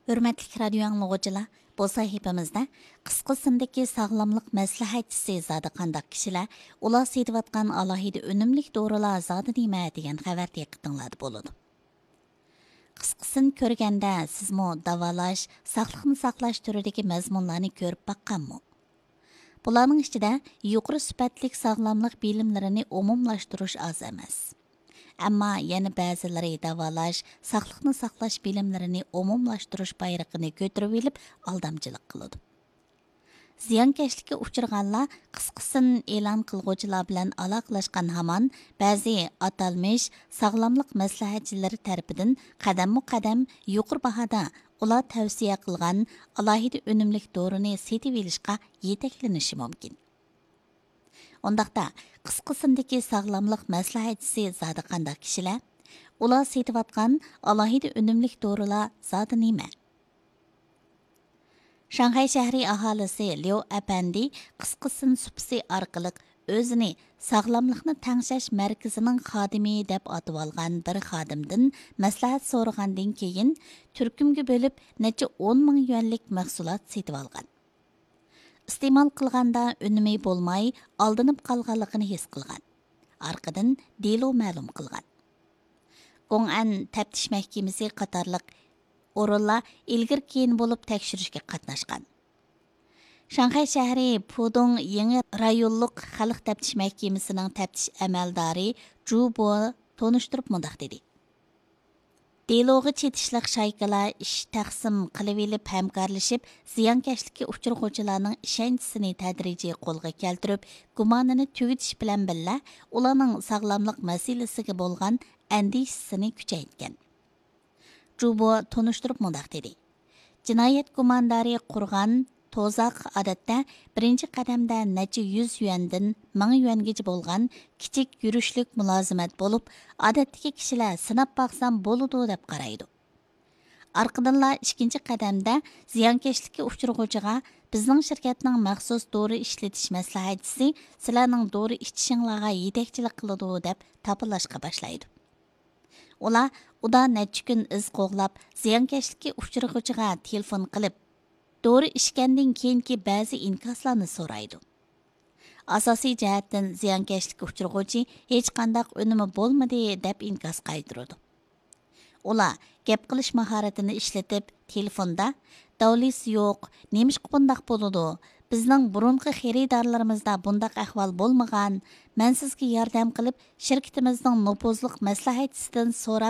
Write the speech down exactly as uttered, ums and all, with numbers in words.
ھۆرمەتلىك رادىيو ئاڭلىغۇچىلار، بۇ سەھىپىمىزدە قىسقا سىندىكى ساغلاملىق مەسلىھەتچىسى زادى قانداق كىشىلەر، ئۇلار سېتىۋاتقان ئالاھىدە ئۈنۈملۈك دورىلار زادى نېمە دېگەن خەۋەر دىققىتىڭلاردا بولىدۇ. قىسقىسىنى كۆرگەندە سىزمۇ داۋالاش، ساقلىقنى ساقلاش تۈرىدىكى مەزمۇنلارنى كۆرۈپ باققانمۇ؟ بۇلارنىڭ ئىچىدە يۇقىرى سۈپەتلىك ساغلاملىق بىلىملىرىنى ئومۇملاشتۇرۇش ئاز ئەمەس. ئەمما يەنە بەزىلىرى داۋالاش، ساقلىقنى ساقلاش بىلىملىرىنى ئومۇملاشتۇرۇش بايرىقىنى كۆتۈرۈۋېلىپ ئالدامچىلىق قىلىدۇ. زىيانكەشلىككە ئۇچرىغانلار قىسقىسىن ئېلان قىلغۇچىلار بىلەن ئالاقىلەشكەن ھامان بەزى ئاتالمىش ساغلاملىق مەسلىھەتچىلىرى تەرىپىدىن قەدەممۇ قەدەم يۇقىرى باھادا ئۇلار تەۋسىيە قىلغان ئالاھىدە ئۈنۈملۈك دورىنى سېتىۋېلىشقا يېتەكلىنىشى مۇمكىن. ئۇنداقتا، قىسقىسىندىكى ساغلاملىق مەسلىھەتچىسى زادى قانداق كىشىلەر؟ ئۇلار سېتىۋاتقان ئالاھىدە ئۈنۈملۈك دورىلار زادى نېمە؟ شاڭخەي شەھىرى ئاھالىسى ليۇ ئەپەندى قىسقىسىن سۇپىسى ئارقىلىق ئۆزىنى ساغلاملىقنى تەڭشەش مەركىزىنىڭ خادىمى دەپ ئاتىۋالغان بىر خادىمدىن مەسلىھەت سورىغاندىن كېيىن، تۈركۈمگە بۆلۈپ نەچچە ئون مىڭ يۈەنلىك مەھسۇلات سېتىۋالغان. ئىستېمال قىلغاندا ئۈنۈمى بولماي، ئالدىنىپ قالغانلىقىنى ھېس قىلغان. ئارقىدىن دېلو مەلۇم قىلغان. گوڭئەن تەپتىش مەھكىمىسى قاتارلىق ئورۇنلار ئىلگىرى كېيىن بولۇپ تەكشۈرۈشكە قاتناشقان. شاڭخەي شەھىرى پۇدۇڭ يېڭى رايونلۇق خەلق تەپتىش مەھكىمىسىنىڭ تەپتىش ئەمەلدارى جۇ بو تونۇشتۇرۇپ مۇنداق دېدى: دېلوغا چېتىشلىق شايكىلار ئىش تەقسىم قىلىۋېلىپ ھەمكارلىشىپ، زىيانكەشلىككە ئۇچرىغۇچىلارنىڭ ئىشەنچىسىنى تەدرىجىي قولغا كەلتۈرۈپ، گۇمانىنى تۈگىتىش بىلەن بىللە، ئۇلارنىڭ ساغلاملىق مەسىلىسىگە بولغان ئەندىشىسىنى كۈچەيتكەن. جۇبو تونۇشتۇرۇپ مۇنداق دېدى: جىنايەت گۇماندارى قۇرغان توزاق ئادەتتە بىرىنچى قەدەمدە نەچچە يۈز يۈەندىن مىڭ يۈەنگىچە بولغان كىچىك يۈرۈشلۈك مۇلازىمەت بولۇپ، ئادەتتىكى كىشىلەر سىناپ باقسام بولىدۇ دەپ قارايدۇ. ئارقىدىنلا ئىككىنچى قەدەمدە زىيانكەشلىككە ئۇچرىغۇچىغا بىزنىڭ شىركەتنىڭ مەخسۇس دورا ئىشلىتىش مەسلىھەتچىسى سىلەرنىڭ دورا ئىچىشىڭلارغا يېتەكچىلىك قىلىدۇ دەپ تاپىلاشقا باشلايدۇ. ئۇلار ئۇدا نەچچە كۈن ئىز قوغلاپ، زىيانكەشلىككە ئۇچرىغۇچىغا تېلېفون قىلىپ، دورا ئىچكەندىن كېيىنكى بەزى ئىنكاسلارنى سورايدۇ. ئاساسىي جەھەتتىن زىيانكەشلىككە ئۇچرىغۇچى ھېچقانداق ئۈنۈمى بولمىدى، دەپ ئىنكاس قايتۇرىدۇ. ئۇلار گەپ قىلىش ماھارىتىنى ئىشلىتىپ، تېلېفوندا، داۋلىسى يوق، نېمىشقا بۇنداق بولىدۇ؟ بىزنىڭ بۇرۇنقى خېرىدارلىرىمىزدا بۇنداق ئەھۋال بولمىغان. مەن سىزگە ياردەم قىلىپ، شىركىتىمىزنىڭ نوپۇزلۇق مەسلىھەتچىسىدىن سوراپ